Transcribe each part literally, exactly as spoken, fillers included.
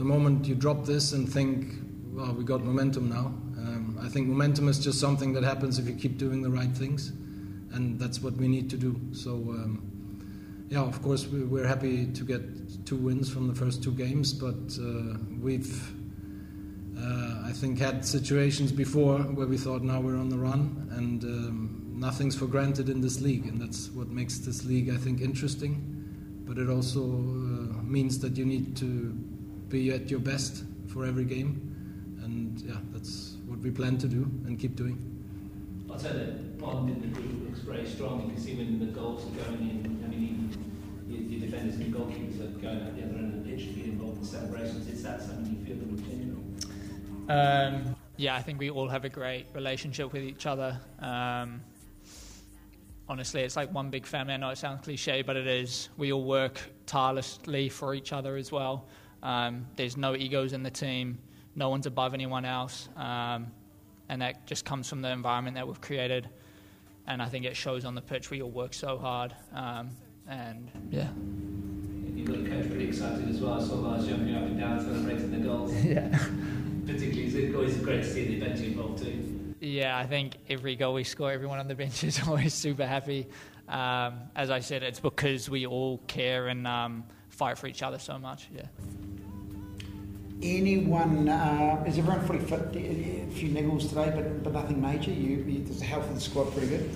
The moment you drop this and think, "Well, we got momentum now," um, I think momentum is just something that happens if you keep doing the right things, and that's what we need to do. So, um, yeah, of course, we, we're happy to get two wins from the first two games, but uh, we've, uh, I think, had situations before where we thought, "Now we're on the run," and um, nothing's for granted in this league, and that's what makes this league, I think, interesting. But it also uh, means that you need to be at your best for every game, and yeah, that's what we plan to do and keep doing. I'd say that bond in the group looks very strong. You can see when the goals are going in. I mean, even your, your defenders and goalkeepers are going out the other end of the pitch to get involved in celebrations. Is that something you feel in general? Um, yeah, I think we all have a great relationship with each other. Um, honestly, it's like one big family. I know it sounds cliche, but it is. We all work tirelessly for each other as well. Um, there's no egos in the team. No one's above anyone else. Um, and that just comes from the environment that we've created. And I think it shows on the pitch. We all work so hard. Um, and yeah. You've got the coach pretty excited as well. I saw Lars jumping up and down, celebrating the goals. Yeah. Particularly, it's always great to see the bench involved too. Yeah, I think every goal we score, everyone on the bench is always super happy. Um, as I said, it's because we all care and um, fight for each other so much. Yeah. Anyone, uh, is everyone fully fit? A few niggles today, but, but nothing major. You, you, the health of the squad pretty good?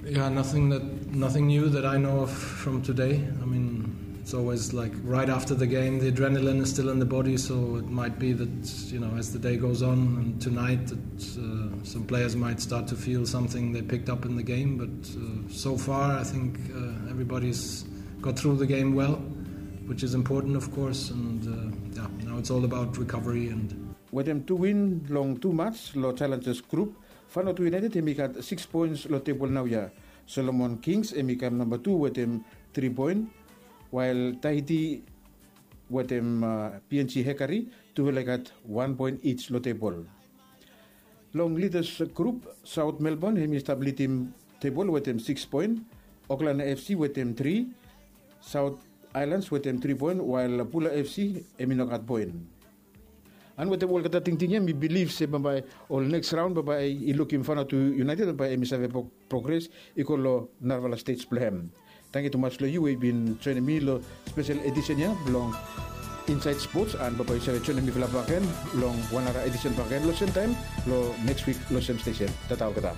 Yeah, nothing that nothing new that I know of from today. I mean, it's always like right after the game, the adrenaline is still in the body, so it might be that, you know, as the day goes on and tonight, that uh, some players might start to feel something they picked up in the game. But uh, so far, I think uh, everybody's got through the game well, which is important, of course. And uh, yeah, now it's all about recovery and Wetem tu win long tu mats lo Challengers Group, Vanuatu United hemi gat sikis poens lo tebol naoia. Solomon Kings hemi kam namba tu wetem tri poen, wael Tahiti wetem uh, P N G Hekari tufala i gat wan poen each lo tebol. Long Leaders Group, South Melbourne hemi stap lidim tebol wetem sikis poen, Auckland F C wetem tri, South Islands wetem tri poen, wael Bula F C hemi no gat poen. And wetem olgeta tingting ia mi bilif se bambae ol next round bambae i lukim Vanuatu United bambae hemi save progres i go lo narafala stage blong hem. Tangkiu tumas lo yu we i bin joinim mi lo spesel edisen ia blong Inside Sports, and bambae yu save joinim mifala bakegen long wan nara edisen bakegen lo sem taem lo next wik lo sem stesen. Tata olgeta.